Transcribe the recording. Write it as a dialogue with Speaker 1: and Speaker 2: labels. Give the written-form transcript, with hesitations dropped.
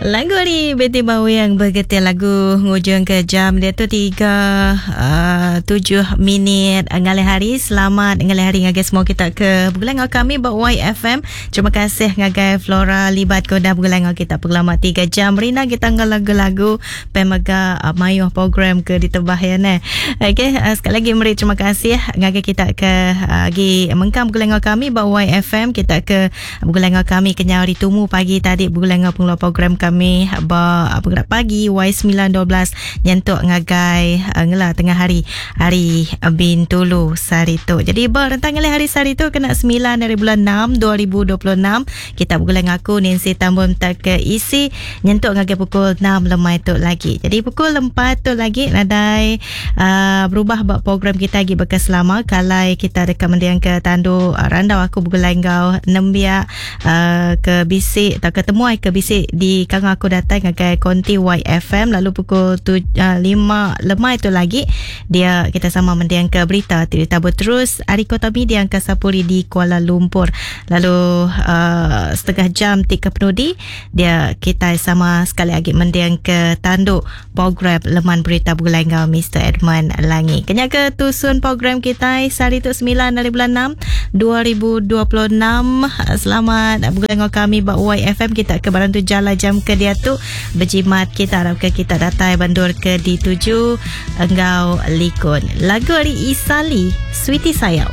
Speaker 1: Lagu ari Betty Bawing begetir lagu ngujung ke jam dia tu 3 uh, 7 minit ngalih hari. Selamat ngalih hari ngagai semua kita ke begulai enggau kami ba YFM. Terima kasih ngagai Flora Libat ke udah begulai enggau kita pengelama 3 jam. Rindang kita enggau lagu-lagu pemega uh, mayuh program ke ditebah ya neh. Okey, uh, sekali lagi meri terima kasih ngagai kita ke uh, agi mengkang begulai enggau kami ba YFM kita ke Begulai enggau kami kenyau hari tumu pagi tadi begulai enggau pengeluar program kami ba Pengerak Pagi Y912 nyentuk ngagai eh, ngela tengah hari hari Bintulu sehari tu. Jadi ba rentang ngalih hari sehari tu kena 9 dari bulan 6 2026 kita begulai enggau aku Nancy Tambun tak ke isi nyentuk ngagai pukul 6 lemai tu lagi. Jadi pukul 4 tu lagi nadai uh, berubah ba program kita agi baka selama kalai kita deka mending ke tandu uh, randau aku begulai enggau nembiak uh, ke bisi atau ke temuai ke bisi di kangau aku datai ngagai konti YFM lalu pukul tu, uh, 5 lemai tu lagi dia kita sama mending ke berita ti ditabur terus ari Kota Media Angkasa Puri di Kuala Lumpur lalu uh, setengah jam ti ke penudi dia kita sama sekali lagi mending ke tandu program Leman Berita Begulai enggau Mister Edmund Langi. Kenya ke tusun program kita sehari tu 9 hari bulan 6 2026. Selamat begulai enggau kami ba YFM kita ke barang tu jala jam ke diatu berjimat kita harap ke kita datai bandur ke dituju enggau likun. Lagu ari Isali, Sweetie Sayau.